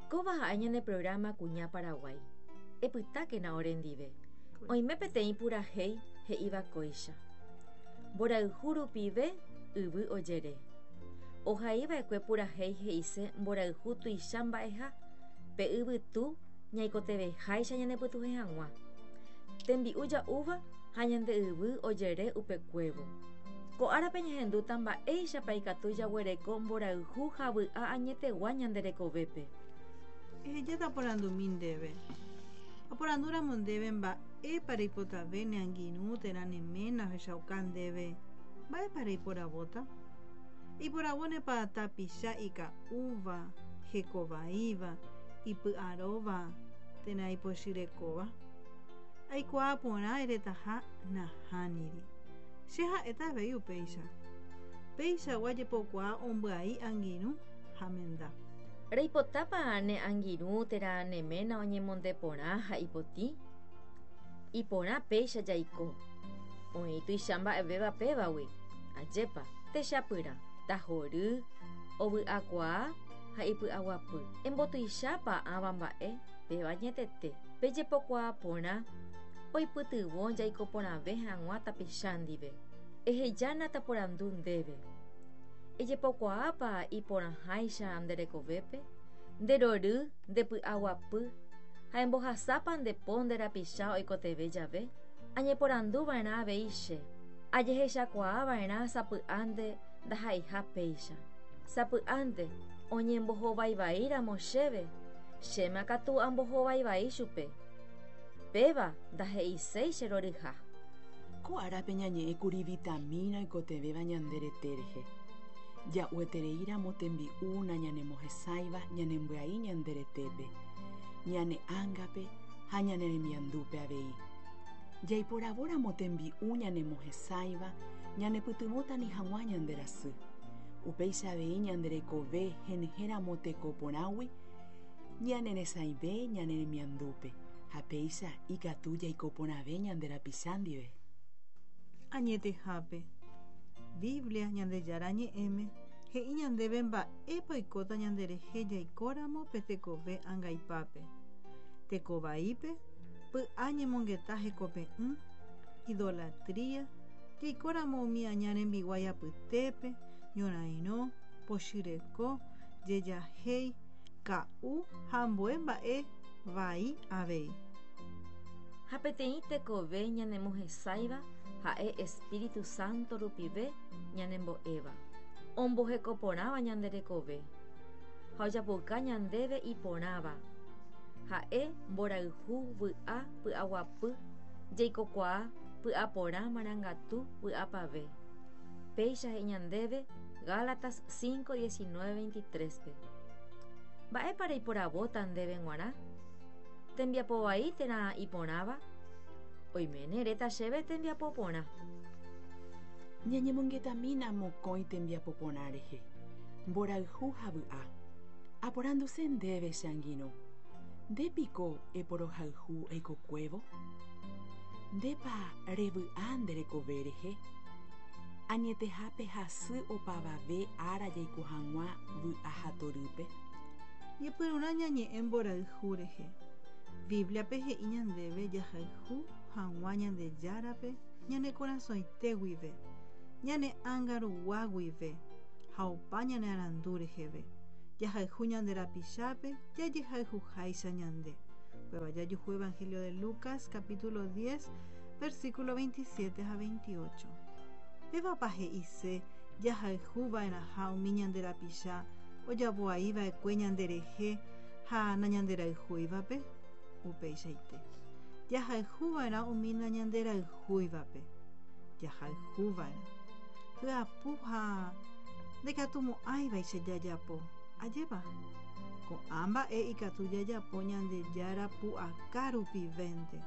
Kóva ha'e ñane programa Kuña Paraguái. Epytákena orendive. Oime peteĩ purahéi he'íva kóicha. Mborayhu rupive yvy ojere. Ohaiva'ekue purahéi he'ise mborayhu tuicha mba'eha, pe yvytu ñaikotevẽháicha ñanepytuhẽ hag̃ua. Tembi'u ja'úva ha ñande yvy ojere upekuévo. Ko árape ñahendúta mba'éichapa ikatu jaguereko mborayhu ha vy'a añetegua ñande rekovépe. Ehejáta aporandumi ndéve. Aporandúramo ndéve mba'épa reipotave ne angirũ térã ne ména ohechauka ndéve, mba'épa reiporavóta? Eiporavónepa tapicha ika'úva, hekovaíva, ipy'aróva térã ipochyrekóva? Aikuaa porã eretaha nahániri. Che ha'éta avei upéicha. Peichagua jepokuaa ombyai angirũ ha menda. Reipotápa ne angirũ térã ne ména oñemonde porã ha ipotĩ? Iporã péicha jaiko. Oĩ tuicha mba'evéva pévagui. Ajépa, techapyrã, tahory, ovy'akuaa ha ipy'aguapy. Embotuichápa ãva mba'e, péva añetete. Pe jepokuaa porã oipytyvõ jaiko porãve hag̃ua tapicha ndive. Ehejána taporandu ndéve. Ejepokuaápa iporãháicha nde rekovépe? Nde rory, nde py'aguapy ha embohasápa nde po nde rapicha oikotevẽ jave? Añeporandu va'erã avei che. Ajehechakuaa va'erã sapy'ánte ndaha'eiha péicha. Sapy'ánte oñembohovaivaíramo chéve, chéma katu ambohovaivai chupe. Péva ndahe'iséi che roryha. Ko árape ñañe'ẽkuri vitamína oikotevẽva ñande rete rehe. Ja'uetereíramo tembi'u nañanemohesãiva ñanembyai ñande retépe, ñane ángape ha ñane remiandúpe avei. Jaiporavóramo tembi'u ñanemohesãiva ñanepytyvõta ani hag̃ua ñande rasy. Upéicha avei ñande rekove henyhẽramo teko porãgui ñaneresãive ñane remiandúpe ha péicha ikatu jaiko porãve ñande rapicha ndive. Añetehápe, Biblia, Ñandejára Ñe'ẽme, he'i ñandéve mba'épa oikóta ñanderehe jaikóramo pe tekove angaipápe, teko vaípe, py'a ñemongeta hekope'ỹ, idolatría, jaikóramo umi aña rembiguái apytépe, ñorairõ, pochyreko, jejahéi, ka'u ha ambue mba'e vai avei. Ha peteĩ tekove ñanemohesãiva ha'e Espíritu Santo rupive ñanembo'éva, omboheko porãva ñande rekove ha ojapouka ñandéve iporãva, ha'e mborayhu, vy'a, py'aguapy, jeikokuaa, py'aporã, marangatu, vy'apave. Péicha he'i ñandéve Gálatas 5, 19, 23-pe. Mba'épa reiporavóta ndéve g̃uarã? Tembiapo vai térã iporãva? Oiméne eréta chéve tembiapo porã. Ñañemongetamína mokõi tembiapo porã rehe, mborayhu ha vy'a. Aporanduse ndéve che angirũ, nde piko eporohayhu eikokuévo? Ndépa revy'a nde rekove rehe? Añetehápe hasy opavave ára jaiko hag̃ua vy'a ha torýpe. Ñepyrũrã ñañe'ẽ mborayhu rehe. Bíbliape he'i ñandéve jahayhu hag̃ua Ñandejárape ñane korasõite guive, ñane ánga rugua guive ha opa ñane arandu reheve. Jahayhu ñande rapichápe jajehayhuháicha ñande. Upéva jajuhu Evangelio de Lucas capítulo 10, versículo 27 ha 28. Pévapa he'ise jahayhu va'erãha umi ñande rapicha ojapo'ai va'ekue ñanderehe ha nañanderayhúivape? Upeichaite. Jahayhu va'erã umi nañanderayhúivape. Jahayhu va'erã. Hyapu ha ndaikatumo'ãivaicha jajapo. Ajépa? Ko'ã mba'e ikatu jajapo Ñandejára pu'aka rupivénte.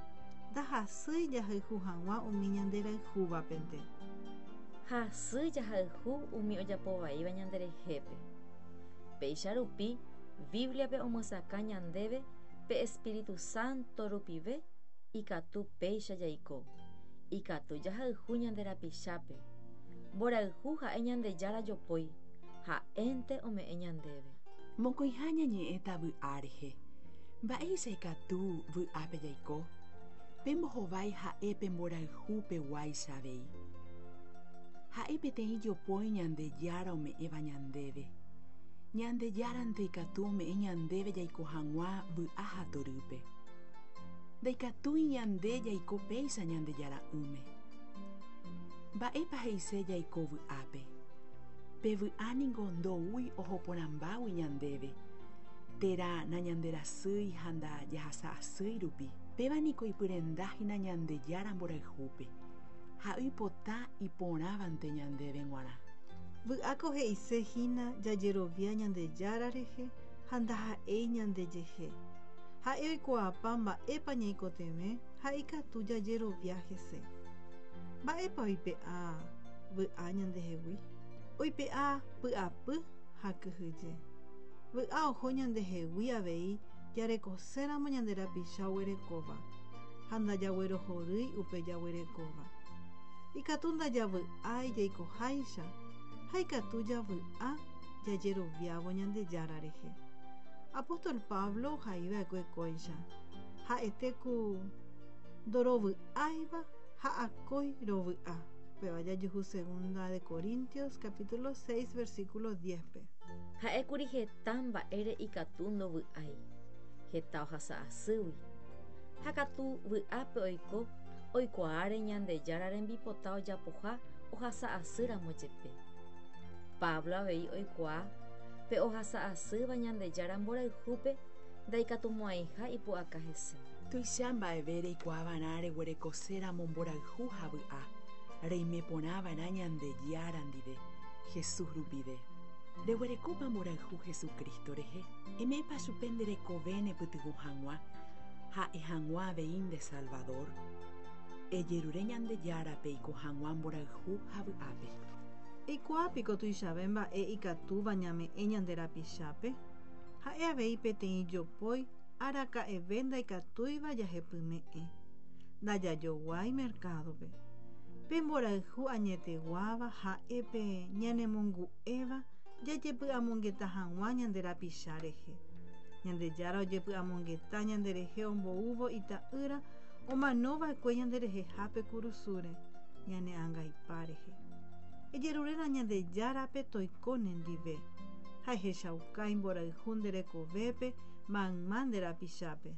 Ndahasýi jahayhu hag̃ua umi ñanderayhúvapente. Hasy jahayhu umi ojapo vaíva ñanderehépe. Péicha rupi, Bíbliape omyesakã ñandéve pe espíritu sánto rupive ikatu péicha jaiko. Ikatu jahayhu ñande rapichápe. Mborayhu ha'e Ñandejára jopói, ha'énte ome'ẽ ñandéve. Mokõiha ñañe'ẽta vy'a rehe. Mba'éicha ikatu vy'ápe jaiko? Pe mbohovái ha'e pe mborayhu peguáicha avei. Ha'e peteĩ jopói Ñandejára ome'ẽva ñandéve. Ñandejárante ikatu ome'ẽ ñandéve jaiko hag̃ua vy'a ha torýpe. Ndaikatúi ñande jaiko péicha Ñandejara'ỹme. Mba'épa he'ise jaiko vy'ápe? Pe vy'a ningo ndoúi oho porãmbágui ñandéve, térã nañanderasýi ha ndajahasa'asýi rupi. Péva niko ipyrenda hína Ñandejára mborayhúpe, ha'e oipota iporãvante ñandéve g̃uarã. Vy'áko he'ise hína jajerovia Ñandejára rehe ha ndaha'éi ñandejehe. Ha'e oikuaapa mba'épa ñaikotevẽ ha ikatu jajerovia hese. Mba'épa oipe'a vy'a ñandehegui? Oipe'a py'apy ha kyhyje. Vy'a oho ñandehegui avei jarekoséramo ñande rapicha oguerekóva ha ndajaguerohorýi upe jaguerekóva. Ikatu ndajavy'ái jaikoháicha ha ikatu javy'a jajeroviávo Ñandejára rehe. Apóstol Pablo ohaiva'ekue kóicha: Ha'ete ku ndorovy'áiva ha akói rovy'a. Upéva jajuhu Segunda de Corintios capítulo 6 versículo 10-pe. Ha'ékuri heta mba'ére ikatu ndovy'ái, heta ohasa asýgui. Ha katu vy'ápe oiko oikuaáre Ñandejára rembipota ojapoha ohasa asýramo jepe. Pablo avei oikuaa pe ohasa asýva Ñandejára mborayhúpe ndaikatumo'ãiha ipu'aka hese. Tuicha mba'eve reikuaava'erã reguerekoséramo mborayhu ha vy'a, reime porãva'erã Ñandejára ndive, Jesús rupive. Reguerekópa mborayhu Jesucristo rehe? Eme'ẽpa chupe nde rekove nepytyvõ hag̃ua ha'e hag̃ua avei nde Salvador? Ejerure Ñandejárape eiko hag̃ua mborayhu ha vy'ápe. Eikuaa piko tuichave mba'e ikatúva ñame'ẽ ñande rapichápe? Ha'e avei peteĩ jopói araka'eve ndaikatúiva jahepyme'ẽ. Ndajajoguái mercado-pe. Pe mborayhu añeteguáva ha'e pe ñanemongu'éva jajepy'amongeta hag̃ua ñande rapicha rehe. Ñandejára ojepy'amongeta ñanderehe omboúvo Ita'ýra omanova'ekue ñanderehehápe kurusúre, ñane angaipa rehe. Ejeruréna Ñandejárape toiko nendive, ha ehechauka imborayhu nde rekovépe mayma nde rapichápe.